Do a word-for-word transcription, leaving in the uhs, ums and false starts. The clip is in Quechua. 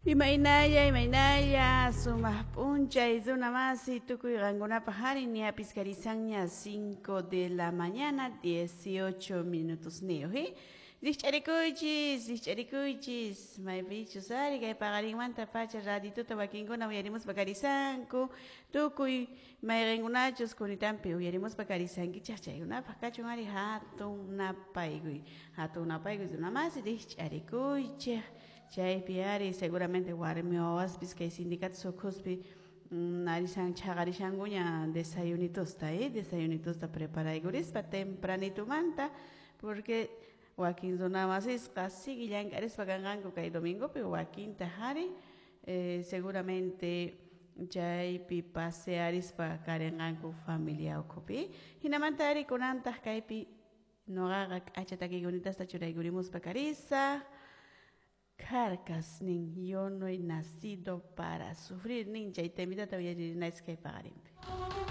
Imaynalla, imaynalla, sumaq p'unchay runa masi tukuy qankunapaq ari ñapis karisanña cinco de la mañana dieciocho minutos niyuq eh Rikch'arikuychis, rikch'arikuychis, maypichus ari kay paqarinmanta pacha radituta wakinkuna uyarimuspa karisanku tukuy mayqinkunachus kunitanpi uyarimuspa karisankichaq chaykunapaq kachun ari hatun napaykuy, hatun napaykuy runa masi rikch'arikuychik chaypi ari seguramente warmi wawaspis kay sindicatos ukhuspi narisan chhaqarishankuña desayunitusta eh desayunitusta preparaykurispa tempranitumanta porque wakin runa masisqa sigui llank'arispa kanqanku kay domingopi wakintaq ari eh seguramente chaypi pasearispa karinqanku familia ukhupi hinamanta ari kunantaq kaypi nuqaqa k'acha takiykunitasta churaykurimuspa karisaq Kjarkas nin yo no he nacido para sufrir nin chay temitata uyaririnaychis kay paqarinpi.